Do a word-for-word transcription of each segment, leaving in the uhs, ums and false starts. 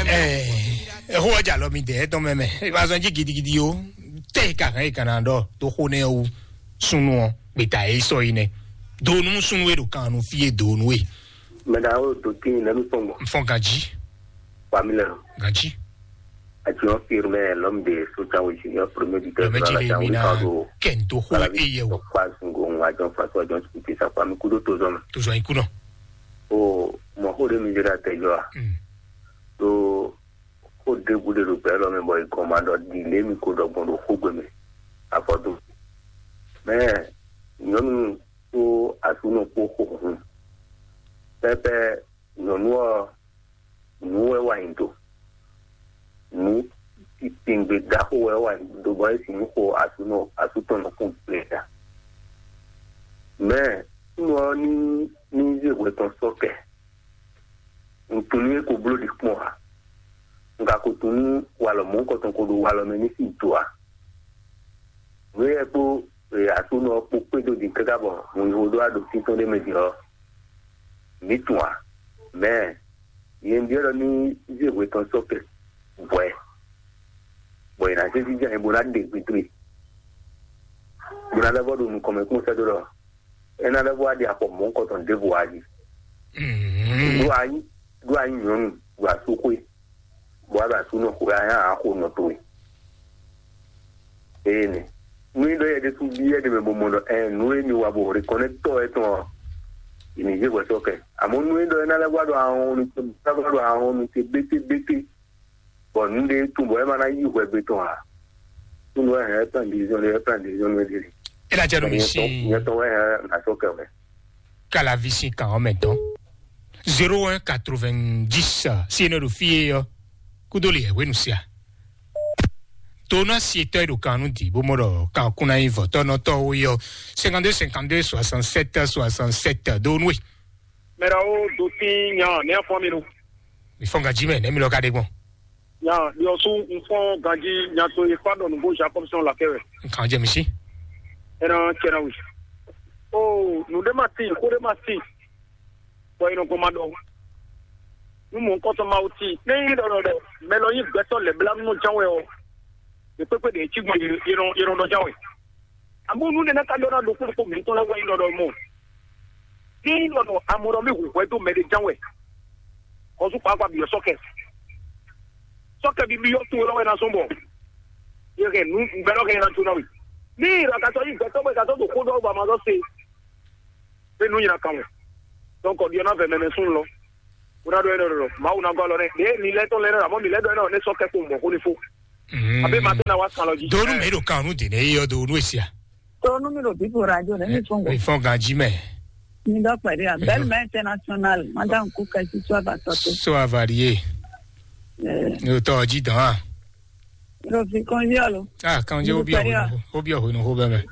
Ɛɛ, ɛxó ɔjà lɔ mi dɛ ɛtɔn mɛ mɛ. Ìbá sɔn jí gidigidi o. Tɛ ìka hɛn ìka na ɖɔ tó xó nɛ wú súnú ɔ gbeta yìí sɔ yìí nɛ. Donu súnú e ɖo kan nu fí e donu e. Mɛɖa o do tin nɛnu sɔngbɔ. Nfɔn ganji. Wami lɛ. Ganji. Adjumant firmé l'homme de Soutane Junior, premier buteur de la Jamhuri, Kado. Kento xó eye o. Kwa sungo adjumant François adjumant Sikuti sa kwa mi kudo tozɔn. Tozɔn ikunɔ. O mɔ xó ɖé mi jɛ ɖe atɛ jɔ a? Ɖó xó ɖěbǔ ɖé ɖo gbɛ élɔ́ mɛ bɔ è gɔn ma ɖɔ ɖi lě mi ko ɖɔ gbɔn ɖo xógbe mɛ. Afɔdu. Mɛ nyɔ̌nu kpó aklúnɔ kpó xo hun. Pɛ́pɛ́ nyɔ̌nu ɔ́, nǔ wɛ wa nyi do. Nǔ titɛngbe ɖaxó wɛ wa nyi do bɔ é sin nú xo aklúnɔ aklútɔ́ nɔ kún gbe ta. Mɛ nú ɔ́ ní ní zé hwɛ tɔn sɔ́ kɛ. Un tunwun nú é ko bló ɖi kpɔ́n ǎ. Un ka ko tunwun nú walɔ mɔ̌hunkɔtɔn ko ɖo walɔ mɛ ní sín do ǎ. Nǔ éyɛ́ kpó e aklúnɔ ɔ́ kpó kpédó din káká bɔ hun yi xo ɖó aɖǒ títɔn ɖé mɛ din ɔ́, mǐ tunwun ǎ. Mɛ nyɛ un byɔ́ ɖɔ ní zé hwe tɔn sɔ́ kɛ hwɛ, bɔ è nǎ zé jínjɔ́n ayǐ bó ná ɖe gbe dó e, bó ná lɛ́ vɔ ɖo nukɔn mɛ kpɔ́n sɛ́ dó ɖɔ é ná lɛ́ vɔ wá ɖi afɔ mɔ̌hunkɔtɔn ɖěvo wá jí. Ɖó a nyí ɖó a nyí nyɔ̌nu ɖo asúxwé, bɔ a ɖo asúnɔ xwe a nyá a xo nɔ towe. Eye nɛ nú é ɖɔ yɛ ɖésú byɔ́ ɖe mɛ bó mɔ ɖɔ ɛ nǔ e mi wa bɔ reconnaître tɔ́ wɛ tɔn ɔ́, è nǐ zé hwɛ sɔ́ kɛ. Àmọ́ nú é ɖɔ é ná lɛ́ vɔ ɖo ahɔn nu ná vɔ ɖo ahɔn nu te bétébété, bɔ nǔ ɖé tún bɔ é ma ná yí hwɛ gbe tɔn ǎ. Nú wɛ hɛn plan division ɖé plan division ɖé ɖé. Ela jɛ no mi si. Nyɛtɔ wɛ hɛn na sɔ́ kɛ wɛ. Kalavi sin kan ɔ́ mɛ dɔn. Zéro un quatre-vingt-dix si e nɔ ɖo fí e ɔ́ kúdó le hwenu sia. Tona si etɔ́ e ɖo kan nú di bó mɔ ɖɔ kan kún ná nyí vɔ̌tɔ́nɔtɔ́ wo yɔ. Cinquante-deux cinquante-deux soixante-sept soixante-sept do nú e. Mɛɖawo do tín nya nɛ́ afɔ mi nu. Mi fɔn ganji mɛ nɛ́ mi lɔ ka ɖe gbɔn. Nya ɖiɔsu nfɔn ganji nya to e kpa ɖɔ nǔgbó Jacob sɔn lakɛ wɛ. Nkan jɛ mi si. Ɛnɛ cɛ na wi. O nu ɖe ma tin xó ɖe ma tin. Bɔ e nɔ gbɔn ma ɖɔ. Nu mɔ nkɔtɔ ma wo tin ne yi ɖɔ ɖɔ ɖɔ mɛ lɔ yi gbɛtɔ lɛ bla nɔ jan wɛ ɔ. Ɖe kpekpe ɖe e ci gbɔn yi nɔ yi nɔ ɖɔ jan wɛ. Amɔ̌ nú nɛnɛ ka ɖɔ ná ɖokpó ɖokpó mǐtɔn lɛ́ɛ wɛ nyí ɖɔɖɔ mɔ. Ní ɖɔ nɔ amɔ ɖɔ mí hu hwɛ dó mɛ ɖé ján wɛ. Xɔsú kpakpa bǐ ɔ́ sɔ́kɛ. Sɔ́kɛ bíbí ɔ́ tún lɔ́ wɛ ná zɔ́n bɔ. Yɛ hɛn nú gbɛɖɔ hɛn ná jó ná we. Ní ìrà kàtọ́ yí gbɛtɔ́ bɔ kàtọ́ tó kó ɖɔ bɔ àmà lɔ se. Pé nú nyina kan wɛ. Donc ɔ̀dí ɔ́ ná vɛ mɛmɛ sún lɔ. Wona ɖo ɛnɛ ɖɔɖɔ Mawu ná gɔ́ alɔ nɛ ɖě mi lɛ́ tɔn lɛ́ nɔ amɔ̌ mi lɛ́ ɖɔ ɛnɛ ɔ́ nɛ sɔ́ kɛ kpowun bɔ xó ní fó. Abé ma tɛ́ na wá san lɔ jí. Donu mɛ ɖo kan nu dene yi yɔ do nu esia. Tonu mi ɖo bíbo radio ɖe mi fún go. Ifɔn ganji mɛ. Mi dɔ pɛɖe a bɛl mɛ international madame kuka si so ava sɔte. So avarie. Ni o tɔ ji dɔn a. Ɖo fi kɔnji alo. Ah, kɔnji o bi ɔhwe o bi ɔhwe nu ho bɛ mɛ.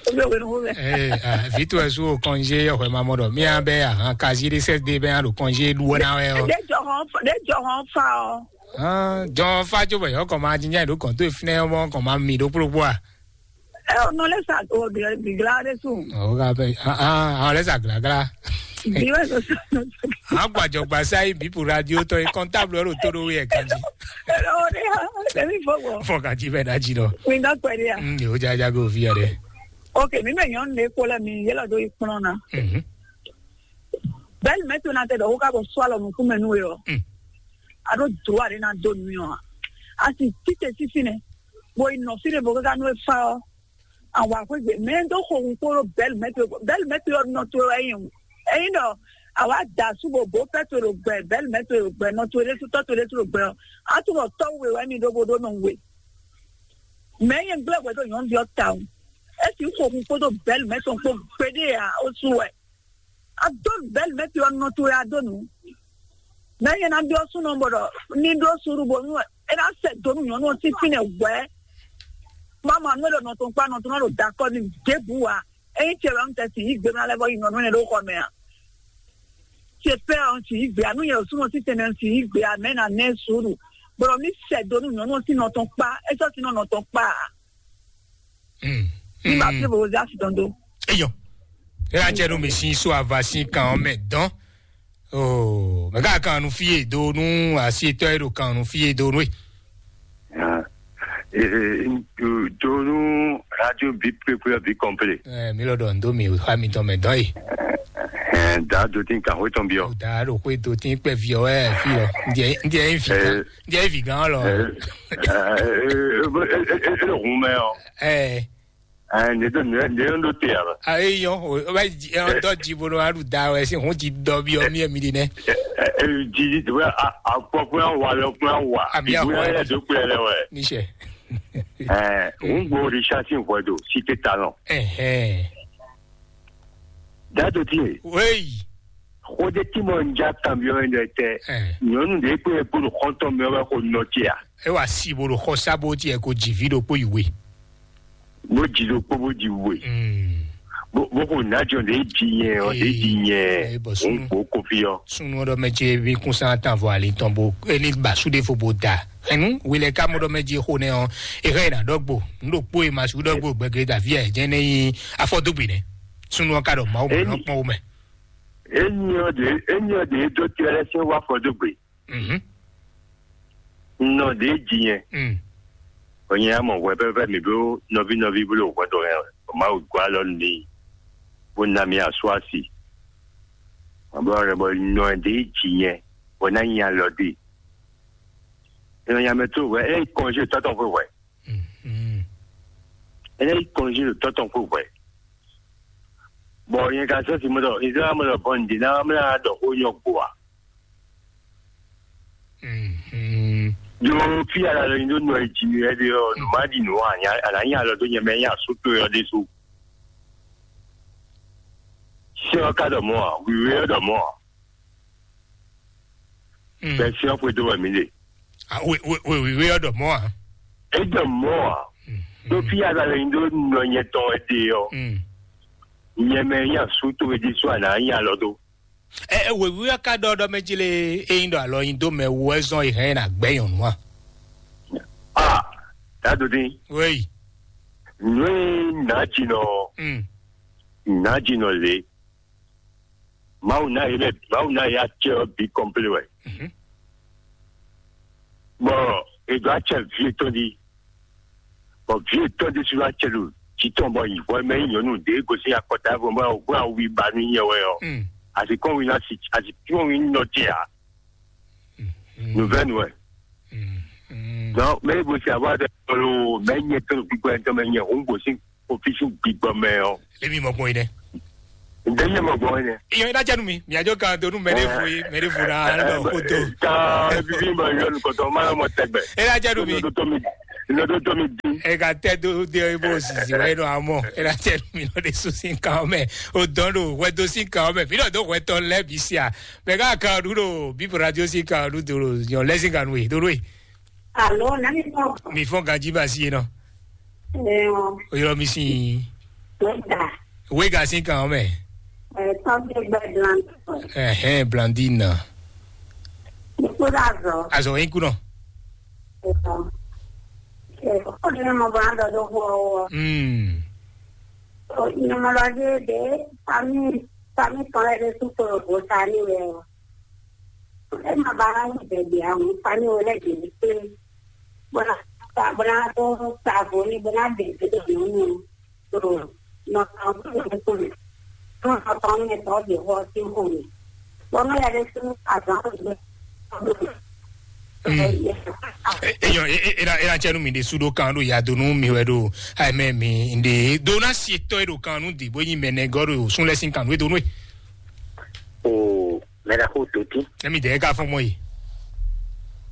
O bi ɔhwe nu ho bɛ. Eh, ah, vitu esu o kɔnji ɔhwe ma mɔ dɔ. Mi a bɛ a han kazi de sɛ de bɛ a do kɔnji du wɛ na wɛ o. De jɔ hɔn de jɔ hɔn fa o. Ah, jɔ fa jo bɛ yɔ kɔ ma jinja do kɔn to finɛ mɔ kɔ ma mi do kplo kplo a. Ɛ o nɔ lɛ sa o bi bi gla de su. O ka bɛ ah ah o lɛ sa gla gla. Bi wɛ so so. An gbajɔgba sa yi bi pour radio tɔ yi comptable ro to do yɛ kanji. Ɛ o de ha ɛ mi fo bɔ. Fɔ kanji bɛ da ji dɔ. Mi dɔ pɛ de ya. Mm, o ja ja go fi ya de. Ok, mi mɛ nyɔnu de ko lɛ mi yɛlɛ do yi kplɔn na. Mhm. Bɛli mɛ to na tɛ dɔ ko ka bɔ sɔ alɔ nukun mɛ nu yɔ. Mm. A ɖo dro a ɖe na do nu yɔ. A si tite sisi nɛ. Bo yi nɔ fi de bo ka nu e fa ɔ. Awa xwé gbe mɛ do xo ŋkpó ɖo bɛli mɛ to bɛli mɛ to yɔ nɔ to wɛ yi o. Eyin ɖɔ awa da su bo bo pɛ to ɖo gbɛ bɛli mɛ to ɖo gbɛ nɔ to ɖe su tɔ to ɖe su ɖo gbɛ ɔ. A tu bɔ tɔwu we wɛ mi ɖo bo ɖo nɔ we. Mɛ yi gblɛ wɛ do nyɔnu ɖɔ ta o. Esi xo ŋkpó ɖo bɛli mɛ to kpó gbeɖe ya o su wɛ. A do bɛli mɛ to yɔ nɔ to ya do nu. Mɛ yi na biɔ sunɔ bɔ ɖɔ ni ɖo suru bo nu e na sɛ do nu nyɔnu ɔ sín fínɛ wɛ. Mama nú e ɖo nɔ tɔn kpa nɔ tɔn na ɖo dakɔ ni ɖěbǔ wa. Eyin tiɛ wɛ ŋutɛ si yí gbe na lɛ bɔ yi nyɔnu ne ɖo xɔ mɛ a. Tiɛ pɛ ɔ si yí gbe anu yɛ o sunɔ si tɛnɛ si yí gbe a mɛ na nɛ suru. Bɔ ɖɔ mi sɛ do nu nyɔnu ɔ sín nɔ tɔn kpa e sɔ sín nɔ nɔ tɔn kpa a. Mm. Ni ma fi bo za si tɔn do. Eyɔ. Ela jɛ nu mi si so ava si kan ɔ mɛ dɔn. Oh, mɛ ka kan nu fie do nu asi tɔ e do kan nu fie do nu e. Ah, eh, eh, do nu radio bi kpekpe bi kɔnple. Eh, mi lɔ dɔ ndo mi o ha mi tɔn mɛ dɔn e. Eh, da do tin kan ho tɔn bi o. Da do ko do tin kpɛ vi o e fi lɔ. Ndiɛ ndiɛ e vi kan. Ndiɛ e vi gan lɔ. Eh, eh, eh, eh, eh, eh, hun mɛ o. Eh. Ah, ne ɖo ne ne ɖo te aba. Ah, eyi yɔn o o bɛ ji ɛ dɔ ji bo nɔ aɖu da wɛ si hun ji dɔ bi ɔ mi ɛ mi ɖi nɛ. Ji ji wɛ akpɔ kpɛ wa lɛ kpɛ wa. Ami ahwa. Ibu yɛ do kpɛ lɛ wɛ. Nisɛ. Ɛɛ, n gbɔ Richard sin hwɛ do si te ta nɔ. Ɛhɛn. Dado ti ye. Weyi. Xode ti mɔ n ja kan bi ɔ yɛ tɛ. Ɛɛ. Nyɔnu de kpe kpo do xɔntɔn mi ɔ bɛ ko nɔ ti a. E wa si bo do xɔ sa bo ti ɛ ko ji vi do kpo yi we. Bó ji ɖokpó bó ji we. Bó bó xo nǎjɔ ɖě ji nyɛ ɔ ɖě ji nyɛ. Ee, bɔ òun súnú kpó kofi ɔ. Súnú ɔ́ ɖɔ mɛ ce bí kún sán tán vɔ ali tɔn bó é ní ba sú ɖé fo bó da. Ɛnu wele ká mɔ ɖɔ mɛ ce xo nɛ ɔ é hɛn yi ná ɖɔgbo. Nɖokpó e ma sú ɖɔgbo gbɛgɛdɛ davi ɛ jẹ́ ní yí afɔdógbè nɛ. Súnú ɔ́ ká ɖɔ mawu mɔ Eni- nɔ kpɔn wo mɛ. Enyɔ ɖě enyɔ ɖě dó tirɛ lɛ sɛn wá afɔdógbè. Mhm. Nɔ ɖě ji nyɛ. Mm. Onyɛ amɔ hwɛ pɛpɛ mi bló nɔví nɔví bló hwɛ ɖo hɛn o. Mawu gɔ́ alɔ nú mi bó ná mi asú asi. Mɔ bɔ rɛ bɔ nɔ ɖě ji nyɛ bɔ ná nyi alɔ dé. Nɔ nya mɛ tó hwɛ é kɔnjé tɔtɔ xwe hwɛ. Mm. É ná yi kɔnjé ɖo tɔtɔ xwe hwɛ. Bɔ nyɛ ka sɔ́ si mɔ ɖɔ Izlayɛ́li mɔ ɖɔ bɔn ǹdí ná mlá ɖɔ xó nyɔ gbo a. Mhm. Ɖo fí ala lɔ nyi ɖó nɔ e ji mì wɛ ɖe ɔ nǔ ma ɖi nǔ a nya a nǎ nya alɔ dó nyɛ mɛ nya asú towe ɔ ɖésú. Sɛ́n ɔ́ ka ɖɔ mɔ̌ a, wǐwé ɔ́ ɖɔ mɔ̌ a. Mm. Bɛ sɛ́n ɔ́ xwedó wɛ mǐ ɖe. Ah, wě wě wě wíwé ɔ́ ɖɔ mɔ̌ a. É ɖɔ mɔ̌ a. Mm. Ɖó fí ala lɔ nyi ɖó nɔ nyɛ tɔn wɛ ɖe ɔ. Mm. Nyɛ mɛ nya asú towe ɖésú a nǎ nya alɔ dó. Ɛ ɛ wěwé ɔ́ ka ɖɔ ɖɔ mɛ jí lé é nyí ɖɔ alɔ nyi dó mɛ wú wɛ zɔn é hɛn é ná gbɛ́ nyɔ̌nu a? A dǎdó dín. Wéyi. Nǔ e nǎjínɔ Mm. nǎjínɔ lě. Mawu ná yě mɛ Mawu ná yě acɛ ɔ́ bǐ kɔnplé wɛ. Mhm. Bɔ è ɖǒ acɛ vǐ yětɔn ɖi. Bɔ vǐ yětɔn ɖésú wá acɛ ɖo jǐ tɔn bɔ yi hwɛ mɛ nyí nyɔ̌nu ɖě gosín akɔta vɔ bɔ bɔ awu ba nú nyɛ wɛ ɔ́. Mm. Asi kɔn wí ná si asi kɔn wí nɔ ce ǎ. Mm. Nuvɛnu wɛ. Mm. Mm. Donc mɛ yi gosín awa ɖe lo mɛ nyɛ tɔn gbígbɔ yɛn tɔn mɛ nyɛ òun gosín ofísí gbígbɔ mɛ ɔ́. Lé mi mɔ gbɔn yi dɛ. Ǹjẹ́ yẹn mọ̀ gbọ́n yẹn? Iyọ̀ iná jẹ́nu mi, mi àjọ kan tó nú mẹ́rẹ́ fún yín, mẹ́rẹ́ fún náà lọ kó tó. Ka bíbí mọ̀ yọ nìkan tó máa mọ̀ tẹ́gbẹ̀. Ẹ ná jẹ́nu mi. Lọ́dún tó mi lọ́dún tó mi dín. Ẹ ka tẹ́ tó dé bó sisi wáyé náà àmọ́. Ẹ ná jẹ́nu mi lọ́dún sùn sí nǹkan ọmọ ẹ̀. O dán lò wẹ́ tó sí nǹkan ọmọ ẹ̀. Fi náà tó wẹ́ tọ́ lẹ́bi sí à. Bẹ́ẹ̀ ká kan ọdún lò bí bọ̀dá tí ó sí kan ọdún tó lò yàn lẹ́sìn kan nù yìí tó lóye. Alo, nani tɔgɔ? Mi fɔn ganji ma si yen nɔ. Ɛɛ, O yɔrɔ mi si. Wega. Wega si kan mɛ. Ɛɛ, tɔgɔ gbɛ Blanco. Ɛhɛn, Blandine. Nikuda zɔ. Azɔ yin kunɔ. Ɛɛ, ɛɛ, o de mɔ bɔ an dɔ do xɔ wɔ. Hmm. O nyɔmɔlɔ de de fami fami tɔn yɛ de su koro bo ta ni wɛ o. E ma ba ŋu bɛbɛ a ŋu fani wo lɛ dě ní kplé. Bó ná ta bó ná tó ta vo ní bó ná bɛ tó dó nǔ nú. Tó nɔ tɔn tó nǔ kú mi. Tó nɔ tɔn mi tɔn dě xɔ sí xo mi. Bó nɔ yɛ ɖé sú azán tó gbé. Eyɔ ena ena tsɛnu mi de sudo kan do yadonu mi wɛ do ayi mɛ mi de do na si tɔ e do kan nu di bo nyi mɛ nɛ gɔ do sun lɛ sin kan nu e do nu e. O mɛ da ko do ti. Emi de ka fɔ mɔ yi.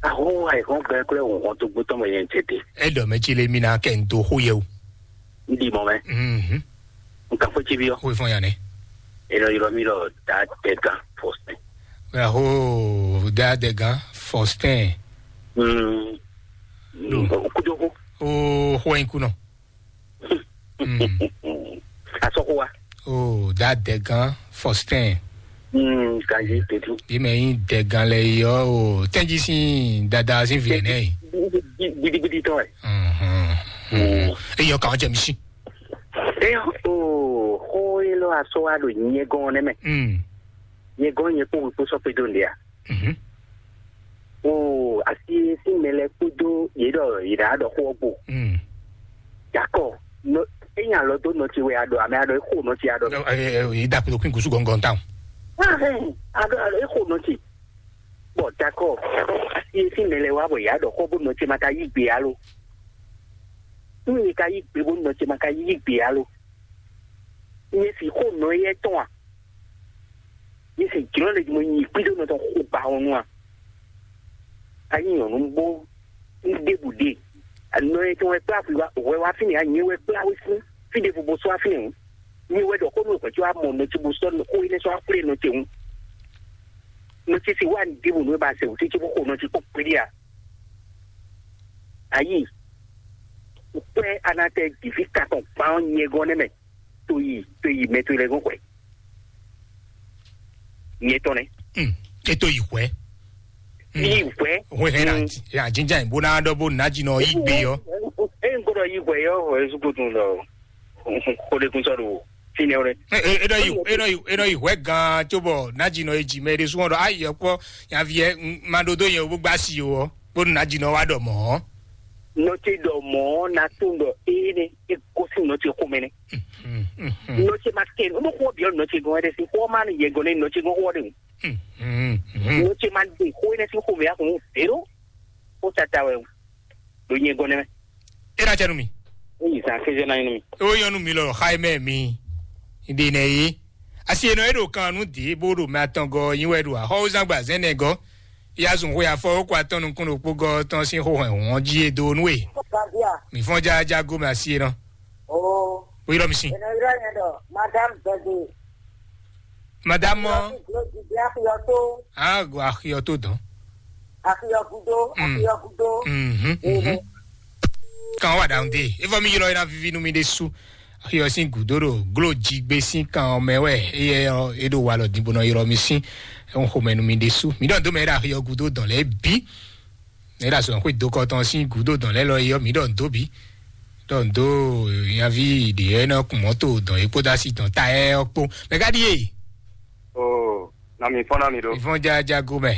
Aho ayi hɔn gbɛ kple ohun hɔn to gbótɔ mɛ yɛn tete. E dɔ mɛ tsi le mi na kɛ n do xo yɛ o. N di mɔ mɛ. Mhm. N ka fɔ tsi bi yɔ. Xo fɔ yan nɛ. E lɔ yɔrɔ mi lɔ da tɛ gan fɔsɛn. Aho da tɛ gan fɔsɛn. Mm. Do. O kudo ko. O xo yin kunɔ. Mm. Asɔkwa. O da dɛgan Faustin. Mm, kanji tetu. Bi mɛ yin dɛgan lɛ yi ɔ o tɛnji sin dada sin vi nɛ yi. Gidigidi tɔ ɛ. Mhm. Mm. Eyɔ kan jɛ mi si. Eyɔ o xo yi lɔ asɔ wa do nyɛ gɔn nɛ mɛ. Mm. Nyɛ gɔ́n nyɛ kpó wɛ kpó sɔ́ kpé dó nǔɖé a? Mhm. O asi e sín mɛ lɛ́ɛ kpódó yě ɖɔ yě ɖǎ ɖɔ xó ɔ́ gbo. Mm. Dakɔ, ényí alɔ dó nɔ ce wɛ a ɖɔ, amɛ a ɖɔ é xo nɔ ce a ɖɔ. Ɛ, ɛ, ɛ, yě da kplo kún gúsù gɔngɔn tán. Ahɛn, a ɖɔ a ɖɔ é xo nɔ ce. Bɔ dakɔ, asi e sín mɛ lɛ́ɛ wá bɔ yě a ɖɔ xó bó nɔ ce ma ka yí gbe alo. Nú yě ka yí gbe bó nɔ ce ma ka yí gbe alo. Nyɛ si xó nɔ éyɛ́ tɔn a? Nyɛ si jlɔ́ ɖe mo nyi kpíɖó nɔ tɔn xo ba ɔ́ nu a? A nyí nyɔ̌nu bó un ɖěbǔ ɖe. Nɔ e tɔn wɛ kplá hwi wá hwɛ wá fínɛ́ a? Nyɛ wɛ kplá we sín fí ɖěvo bó sɔ́ wá fínɛ́ hǔn. Nyɛ wɛ ɖɔ xó nú wɛ hwɛ̌ có wá mɔ nɔ ce bó sɔ́ xó énɛ́ sɔ́ wá xwlé nɔ ce hǔn. Nɔ ce si wá un ɖěbǔ nú é ba sɛ wǔ ce cóbó xo nɔ ce kpó kpéɖé a? Ayí, kpɛ́ a ná tɛ jǐví katɔn kpan ɔ́ nyɛ gɔ́n nɛ́ mɛ. To yi to yi mɛ towe lɛ́ɛ gɔ́n hwɛ̌. Nyɛ tɔn nɛ́. Hmm. E to yi hwɛ. Hmm. Yi hwɛ. Hwɛ hɛ na. Hmm. Ya jinja bó ná ɖɔ bó ná jinɔ yi gbe yɔ. E n gbọ́dọ̀ yi hwɛ yɔ hwɛ sukutu lɔ. Ko de kun sɔ do fínɛ wɛ. E e e nɔ yi e nɔ yi e nɔ yi hwɛ gan tso bɔ ná jinɔ e ji mɛ ɖe sún ɔdɔ ayi ɛkpɔ yavi ɛ ma ɖo do yẹn o bó gbá si o ɔ bó ná jinɔ wa ɖɔ mɔ. Nɔ ce ɖɔ mɔ na tún ɖɔ eye ne e gosi nɔ ce xomɛ ne. Nɔ ce ma kɛ nu xɔ biɔ nɔ ce gɔn ɛdɛ si xɔ ma ni yɛ gɔn ne nɔ ce gɔn xɔ de. Nɔ ce ma de xɔ ne si xomɛ ya kun zero. Ko tata wɛ ɖo nyɛ gɔn ne mɛ. E na cɛ nu mi. Eyi san keze na inu mi. O yɔnu mi lɔ xa mɛ mi. Ide nɛ ye. Asi enɔ e ɖo kan nu de bó ɖo mɛ atɔn gɔ nyi wɛ ɖo axɔwúzangba zɛnɛ gɔ. Ya zun xwe afɔ wokɔ atɔn nukún ɖokpó gɔ tɔn sín xó hɛn wɔn jí e dó nú e. Gavia. Mi fɔn jaja go mɛ asi e nɔ. Oo. O yɔrɔ mi sin. Ena yɔrɔ yẹn dɔ madame Bẹ̀gì. Madame mɔ. Yọtí gbòógì bí akuyọ tó. Ago axiyɔ tó dán. Akuyọ gudo. Mm. Akuyọ gudo. Mhm, mhm. Kan wa ɖaŋu de. Efɔ mi ylɔ yina vivi nú mi ɖe su. Axiyɔ sín gǔdo ɖo glo jigbe sín kan ɔ́ mɛ wɛ. Eyɛ ɔ́ e ɖo walɔ din bó nɔ ylɔ mi sín. Ɛhún xomɛ nú mi ɖe su. Mi ɖɔ dó mɛ ɖo axiyɔ gudo dɔn lɛ bí. Ne ɖo azɔn xwé dokɔ tɔn sín gǔdo dɔn lɛ́ lɔ é ɔ́, mǐ ɖɔ nǔ dó bǐ. Ɖɔ nǔ dó nyaví ɖě ɔ́ nɔ kun mɔ̌to dɔn é kpódó asi dɔn ta ɛ ɔ́ kpó. Mɛ ka ɖíe? Oo, na mi fɔ́n ná mi ɖó. Ìfɔn jajago mɛ.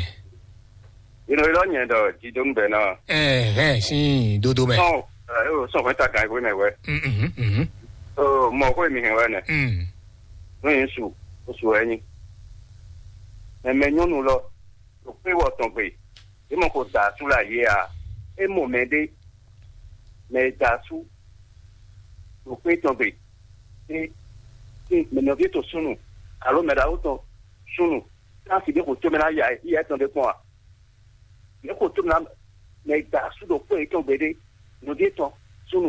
Inú ilɔ nyɛ ɖɔ jidónú bɛ ná. Ɛhɛn, sín dodo mɛ. Sɔn ɛ o sɔn fɛn ta kan ìwé mɛ wɛ. Mhm, mhm. Oo, mɔ xwé mi hɛn wɛ nɛ. Mm. Nú yín su, ó su wɛ nyí. Mɛ mɛ nyɔ́nu lɔ, ɖo kpé wɔ tɔn gbe. Yě mɔ ko da asú le ayé a? É mɔ mɛɖé, mɛ e da asú ɖo xwé tɔn gbe. É, é, mɛ nɔví tɔn súnnu, alo mɛ ɖaxó tɔn súnnu, ná fi ɖé xo tó mɛ ná ya ya tɔn ɖé kpɔn a? Yě xo tó mɛ ná mɛ e da asú ɖo xwé yětɔn gbe ɖé, nɔví tɔn